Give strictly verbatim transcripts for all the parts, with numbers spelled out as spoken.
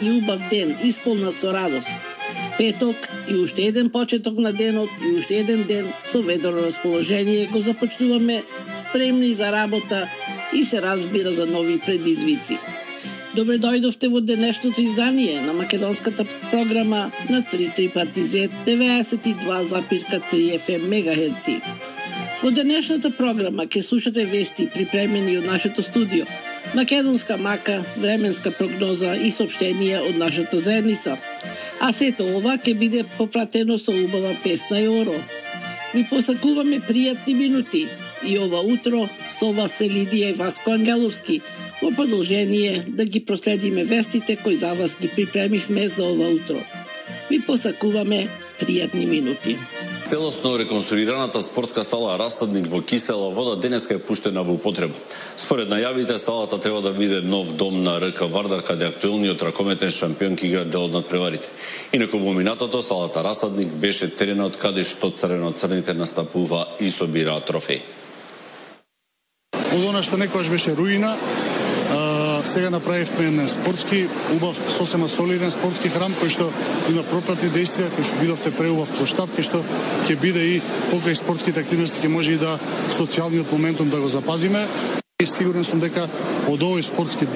и убав ден, исполнат со радост. Петок и уште еден почеток на денот и уште еден ден со ведро расположение го започнуваме, спремни за работа и се разбира за нови предизвици. Добре дојдовте во денешното издание на македонската програма на три три пати зет деветдесет и два запир три еф ем мегахерци. Во денешната програма ќе слушате вести припремени од нашето студио, македонска мака, временска прогноза и соопштенија од нашата заедница. А сето ова ќе биде попратено со убава песна и оро. Ви посакуваме пријатни минути и ова утро со вас е Лидија и Васко Ангеловски, во продолжение да ги проследиме вестите кои за вас ги припремивме за ова утро. Ви посакуваме пријатни минути. Целосно реконструираната спортска сала Расадник во Кисела Вода денеска е пуштена во употреба. Според најавите, салата треба да биде нов дом на РК Вардар, каде актуелниот ракометен шампион ќе игра дел од надпреварите. Инаку во минатото салата Расадник беше теренот каде што црвено-црните настапува и собираат трофеи. Од она што некогаш беше руина, сега направивме еден спортски, убав, сосема солиден спортски храм, кој што има пропратни действија, кој што видовте преубав плоштад, кој што ќе биде и покрај спортските активности, ќе може и да социјалниот моментум да го запазиме. И сигурен сум дека од овој спортски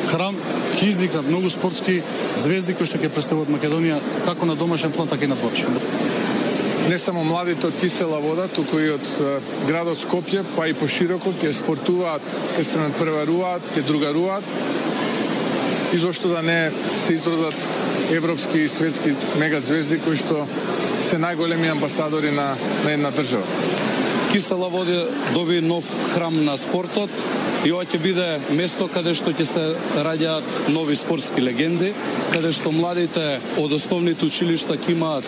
храм ќе изникнат многу спортски звезди кои што ќе представуваат Македонија како на домашен план, така и на дворешен. Не само младите од Кисела Вода, туку и од градот Скопје, па и пошироко, ќе спортуваат, ќе се надпреваруваат, ќе другаруваат и зошто да не се изродат европски и светски мегазвезди кои што се најголеми амбасадори на, на една држава. Кисела Вода доби нов храм на спортот и ова ќе биде место каде што ќе се раѓаат нови спортски легенди, каде што младите од основните училишта ќе имаат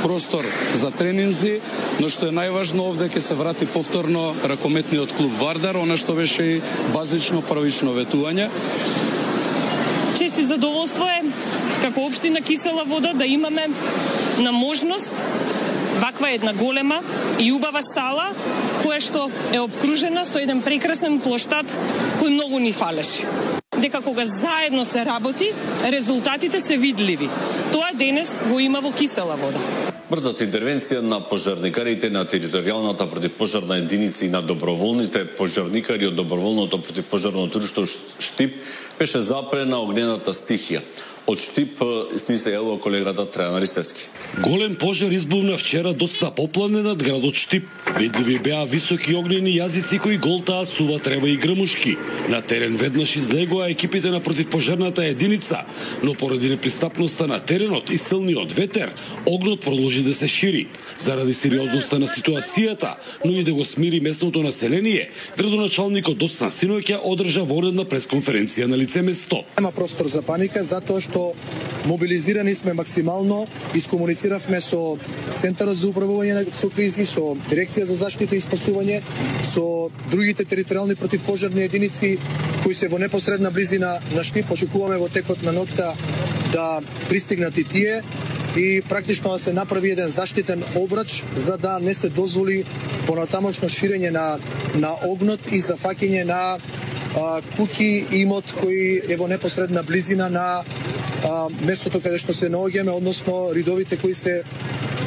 простор за тренинзи, но што е најважно овде ќе се врати повторно ракометниот клуб Вардар, она што беше и базично првично ветување. Чест и задоволство е како општина Кисела Вода да имаме на можност ваква една голема и убава сала која што е обкружена со еден прекрасен плоштад кој многу ни фалеше. Дека кога заедно се работи, резултатите се видливи. Тоа денес го има во Кисела Вода. Брзата интервенција на пожарникарите на територијалната противпожарна единица и на доброволните пожарникари од доброволното противпожарно друштво Штип беше запрена огнената стихија. Од Штип ни се јавува колегата Трајан Ристевски. Голем пожар избувна вчера доста поплане над градот Штип. Видливи беа високи огнени јазици кои голтаа сува трева и грмушки. На терен веднаш излегоа екипите на противпожарната единица, но поради непристапноста на теренот и силниот ветер, огнот продолжи да се шири. Заради сериозноста на ситуацијата, но и да го смири местното население, градоначалникот Доцна Синоќа одржа воредна пресконференција на лице место. Нема простор за паника, затоа што мобилизирани сме максимално, искомунициравме со Центарот за управување со кризи, со Дирекција за заштита и спасување, со другите територијални противпожарни единици кои се во непосредна близина на Штип. Очекуваме во текот на ноќта да пристигнат и тие и практично да се направи еден заштитен обрач за да не се дозволи понатамошно ширење на на огнот и зафаќање на а, куќи и имот кои е во непосредна близина на а, местото каде што се наоѓаме, односно ридовите кои се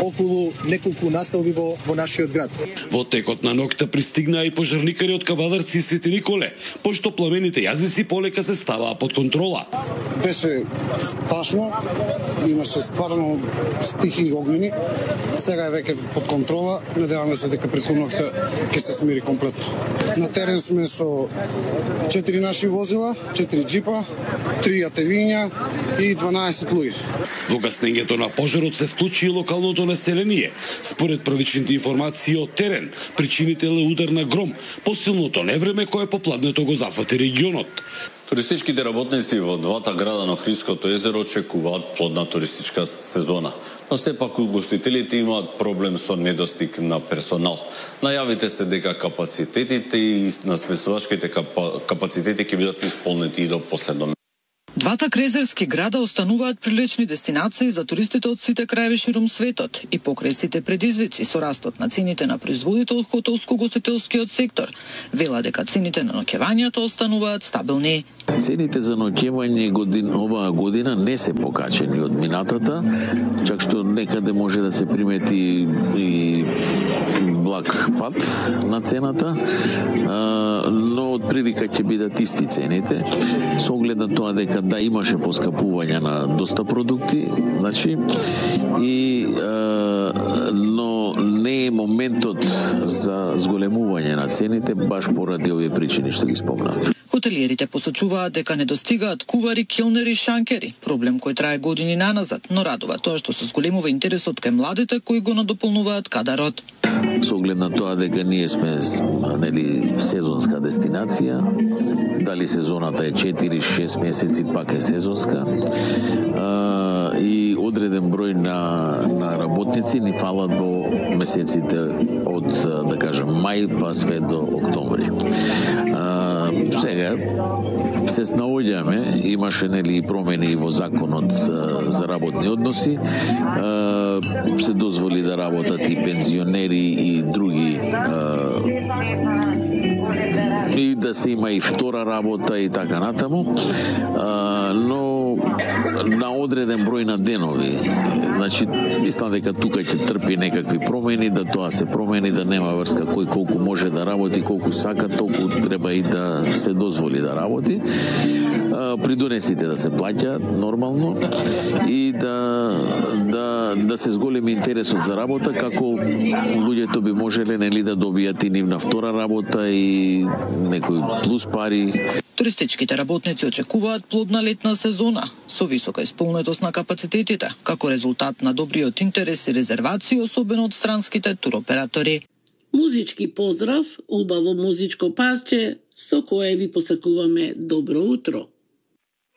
околу неколку населби во, во нашиот град. Во текот на ноќта пристигнаа и пожарникари од Кавадарци и Свети Николе, пошто пламените јазици полека се ставаа под контрола. Беше страшно, имаше стварно стихи и огнени. Сега е веќе под контрола. Надеваме се дека преку ноќта ќе се смири комплетно. На терен сме со четири наши возила, четири джипа, три атевиња и дванаесет луѓе. Во гаснењето на пожарот се вклучи и локалното население. Според првичните информации од терен, причинител е удар на гром, посилното невреме кое попладнето го зафати регионот. Туристичките работници во двата града на Охридското езеро очекуваат плодна туристичка сезона, но сепак угостителите имаат проблем со недостиг на персонал. Најавите се дека капацитетите и на сместувачките капацитети ќе бидат исполнети и до последно. Двата крезерски града остануваат прилични дестинации за туристите од сите краеви ширум светот и покрај сите предизвици со растот на цените на производите од хотелско-гостителскиот сектор, вела дека цените на ноќевањата остануваат стабилни. Цените за ноќевање годин, оваа година не се покачени од минатата, чак што некаде може да се примети и благ пат на цената, но од прилика ќе бидат исти цените, со оглед на тоа дека да имаше поскапување на доста продукти, значи, и но не е моментот за зголемување на цените баш поради овие причини што ги спомнав. Хотелиерите посочуваат дека не достигаат кувари, келнери, шанкери, проблем кој трае години наназад, но радува тоа што се зголемува интересот кај младите кои го надополнуваат кадарот. Со оглед на тоа дека ние сме, нели, сезонска дестинација, дали сезоната е четири-шест месеци, пак е сезонска, а, и одреден број на, на работници ни фалат во месеците од, да кажем, мај па све до октомври. А, сега се снаоѓаме, имаше, нели, промени во законот за работни односи, а, се дозволи да работат и пензионери и други, а, и да се има и втора работа и така натаму, а, но на одреден број на денови. Значи, мислам дека тука ќе трпи некакви промени, да тоа се промени, да нема врска кој колку може да работи, колку сака, толку треба и да се дозволи да работи. Придонесите да се плаќаат нормално и да да да се зголеми интересот за работа, како луѓето би можеле, нели, да добијат и нивна втора работа и некои плюс пари. Туристичките работници очекуваат плодна летна сезона со висока исполнетост на капацитетите, како резултат на добриот интерес и резервации, особено од странските туроператори. Музички поздрав, убаво музичко парче со кое ви посакуваме добро утро.